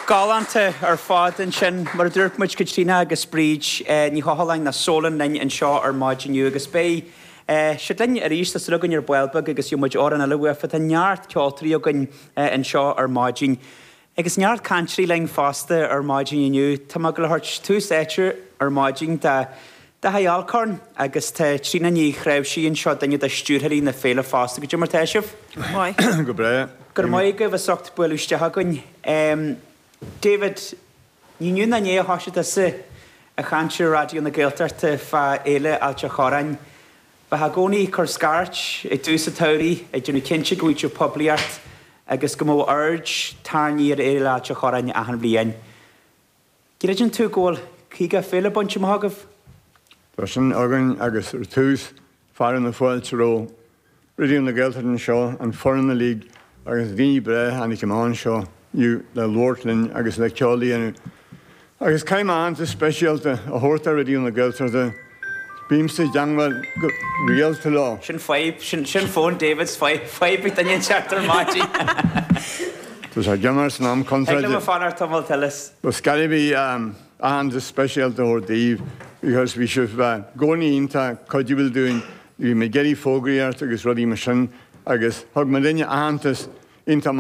Galánta ar fad ansin. Mar a dúirt muid, Caitríona agus Bríd Ní Choileáin nó Sólon linn anseo ar maidin inniu agus beidh siad linn arís, tá súil againn ar ball beag agus gheobhaidh muid amhrán eile uafa. Tá neart ceoltóirí againn anseo ar maidin. Agus neart cainteoirí linn fosta ar maidin inniu. Tá mé ag gabháil a thabhairt tús áite ar maidin do Daithí Alcorn agus tá Tríona Ní Chnáimhsí anseo, duine de stiúrthóirí na féile fosta. Goidé mar tá sibh? Maith. Go breá. Go raibh maith agaibh as ucht bualadh isteach chugainn. David, ní inniu ná inné a thoisigh tusa ag caint ar Raidió na Gaeltachta fá Fhéile Ailt a' Chorráin. Bheifeá i gcónaí ag cur scairt ag tús an tsamhraidh, ag déanamh cinnte go bhfaigheadh sibh poiblíocht agus go mbeadh aird tarraingthe ar Fhéile Ailt a' Chorráin achan bhliain. Gcreideann tú go bhfuil 50 féile bainte amach agaibh? Tá sin againn agus ar tús, fearadh na fáilte roimh Raidió na Gaeltachta anseo, an foireann uilig agus daoine breá a tháinig amach anseo inniu le labhairt linn agus le ceol a dhéanamh. Agus caithfidh mé aitheantas speisialta a thabhairt do Raidió na Gaeltachta, bímse i dteangmháil go rialta leo. Sin fadhb, sin fón David, fadhb ag duine inteacht ar maidin. Tá sé ag imeacht san am Thig contráilte. liom fanacht tamall eile. But caithfidh mé aitheantas speisialta a thabhairt daoibh because bhí sibh i gcónaí iontach cuidiúil dúinn, bhí mé ag iarraidh fógraíocht agus rudaí mar sin agus thug muidinne aitheantas iontach.